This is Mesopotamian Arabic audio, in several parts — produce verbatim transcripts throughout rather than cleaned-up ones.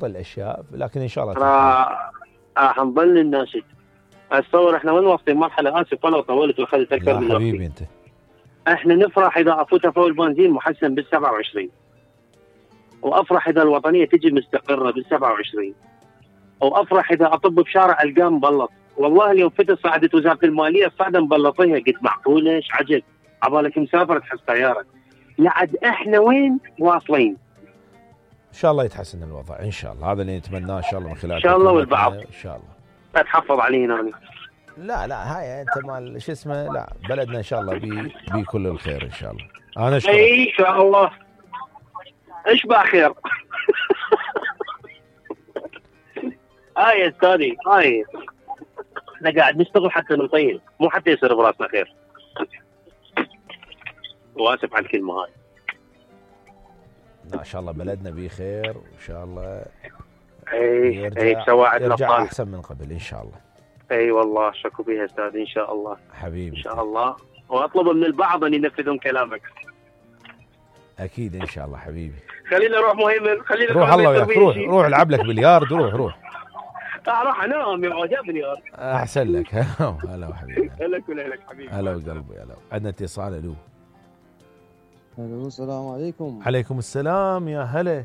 الاشياء، لكن ان شاء الله راح راح نظل الناشد. اتصور احنا وين واصلين مرحله، اسف والله طولت واخذت اكثر من وقتي. حبيبي انت. احنا نفرح اذا افوت فوق البنزين محسن بال سبعة وعشرين، وافرح اذا الوطنيه تجي مستقره بال سبعة وعشرين، وافرح اذا اطب بشارع القاه مبلط. والله اليوم فتت صعدت وزاره الماليه الصعده مبلطيها، قلت معقوله ايش عجب، عبالك مسافر تحس طياره. لعد احنا وين واصلين؟ ان شاء الله يتحسن الوضع ان شاء الله، هذا اللي نتمناه ان شاء الله من خلال ان شاء الله. والبعض ان شاء الله اتحفظ علينا أنا. لا لا هاي انت مال شو اسمه، لا بلدنا ان شاء الله بي بي كل الخير ان شاء الله. انا اشكرك. اي ان شاء الله اشبع خير. هاي يا استاذي هاي احنا قاعد نشتغل حتى نطيل، مو حتى يصير براسنا خير. واسف على الكلمه هاي. ان شاء الله بلدنا بيه خير وان شاء الله اي اي سواعد يرجع احسن من قبل ان شاء الله. اي والله شكو بيها استاذ ان شاء الله حبيبي ان شاء الله. واطلب من البعض ان ينفذون كلامك. اكيد ان شاء الله حبيبي. خلينا نروح مهيمن، خلينا روح الله وياك، روح روح العب لك بليارد، روح روح راح انام يا عجبني. احسن لك. هلا حبيبي. هلا كل لك حبيبي. هلا وقلبي. هلا. عندنا اتصال. الو الو السلام عليكم. عليكم السلام يا هلا.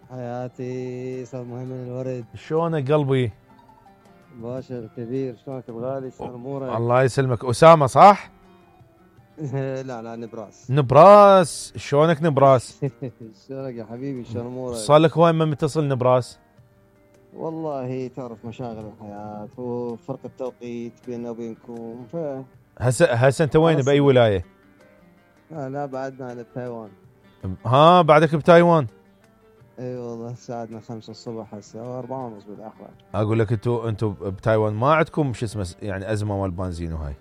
حياتي استاذ مهيمن الورد. شلونك قلبي؟ باشا الكبير شلونك الغالي؟ شلون امورك؟ الله يسلمك. اسامه صح؟ لا لا نبراس. نبراس شلونك نبراس؟ شلونك يا حبيبي شلون امورك؟ صار لك وين ما متصل نبراس؟ والله تعرف مشاغل الحياة وفرق التوقيت بيننا وبينكم ف هسه هسه انت وين باي ولايه؟ آه لا بعدنا على تايوان. ها بعدك بتايوان؟ اي والله ساعدنا خمسة الصبح هسه او أربعة ونص بالاخر. اقول لك انتوا انتوا بتايوان ما عندكم شو اسمه يعني ازمه مال بنزين وهاي.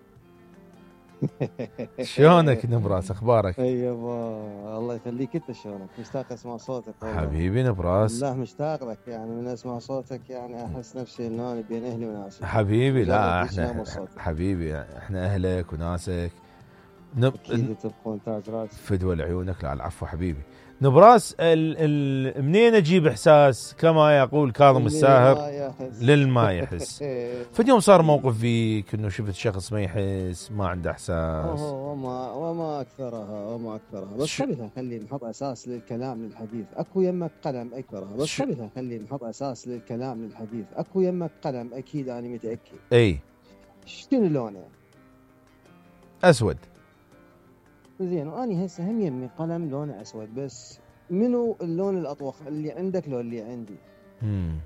شلونك نبراس اخبارك؟ اي يابا الله يخليك انت شلونك؟ مشتاق اسمع صوتك والله. حبيبي نبراس. لا مشتاق لك يعني من اسمع صوتك يعني احس نفسي انه انا بين اهلي وناسي. حبيبي لا احنا حبيبي احنا اهلك وناسك. نب... اكيد تبقون تاج راسك. فدوى لعيونك. لا العفو حبيبي. نبراس ال... ال... منين اجيب احساس كما يقول كاظم الساهر للما يحس. فاليوم صار موقف فيك انه شفت شخص ما يحس ما عنده احساس. وما وما اكثرها وما اكثرها بس خلينا خلي نحط اساس للكلام للحديث. اكو يمك قلم اكثرها بس خلينا خلي نحط اساس للكلام للحديث. اكو يمك قلم اكيد انا متاكد. اي شنو لونه؟ اسود. زين واني هسه هم يمي قلم لونه اسود بس منو اللون الاطوخ اللي عندك لو اللي عندي؟ امم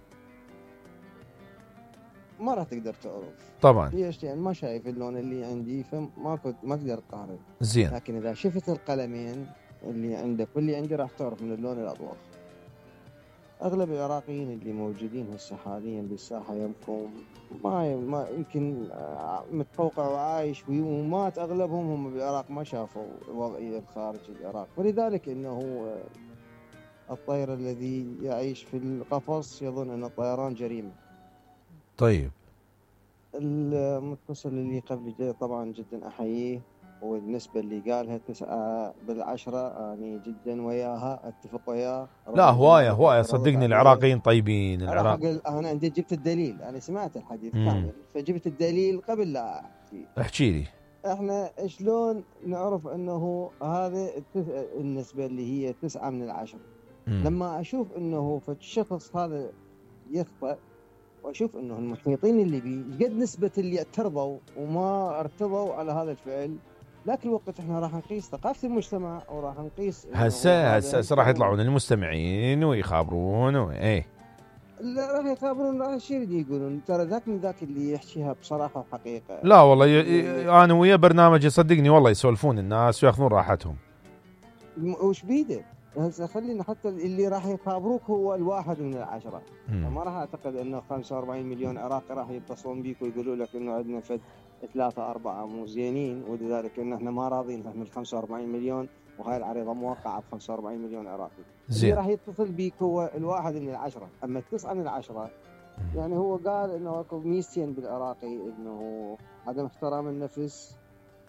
ما راح تقدر تعرف طبعا. ليش؟ يعني ما شايف اللون اللي عندي فما كنت ما تقدر تقارن. زين. لكن اذا شفت القلمين اللي عندك واللي عندي راح تعرف من اللون الاطوخ. اغلب العراقيين اللي موجودين هسه حاليا بالساحه يمكم ما ما يمكن متفوقع وعايش ومات اغلبهم هم بالعراق ما شافوا الوضعيه خارج العراق، ولذلك انه الطير الذي يعيش في القفص يظن ان الطيران جريمه. طيب. المتصل اللي قبل طبعا جدا احييه، والنسبة اللي قالها تسعة بالعشرة أنا جدا وياها أتفق وياه. لا هواية هواية صدقني العراقيين طيبين. العراق أنا عندي جبت الدليل، أنا سمعت الحديث كامل فجبت الدليل قبل لا أحكي. احكي لي. إحنا شلون نعرف أنه هذا النسبة اللي هي تسعة من العشرة؟ لما أشوف أنه فالشخص هذا يخطأ وأشوف أنه المحيطين اللي بيه قد نسبة اللي اعترضوا وما ارتضوا على هذا الفعل. ذاك الوقت احنا راح نقيس ثقافة المجتمع وراح نقيس هسه هسه راح يطلعون المستمعين ويخابرون وايه. لا راح يخابرون راح يصير يقولون ترى ذاك من ذاك اللي يحكيها بصراحة وحقيقة. لا والله ي... ي... انا ويا برنامجي صدقني والله يسولفون الناس وياخذون راحتهم. وش بيده؟ هسه خلينا حتى اللي راح يخابروك هو الواحد من العشرة. ما راح اعتقد انه خمسة وأربعين مليون عراقي راح يتصلون بيك ويقولوا لك انه عندنا فد ثلاثة أربعة مو زينين، ولذلك إن إحنا ما راضين من خمسة وأربعين مليون وهاي العريضة موقعة ب خمسة وأربعين مليون عراقي. اللي راح يتصل بيك هو الواحد من العشرة، أما التسعة من العشرة يعني هو قال إنه أكو ميزتين بالعراقي، إنه عدم احترام النفس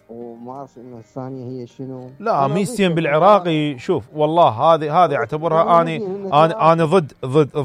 وما أعرف إنه الثانية هي شنو. لا ميزتين بالعراقي شوف والله هذه هذه أعتبرها أنا أنا أنا ضد ضد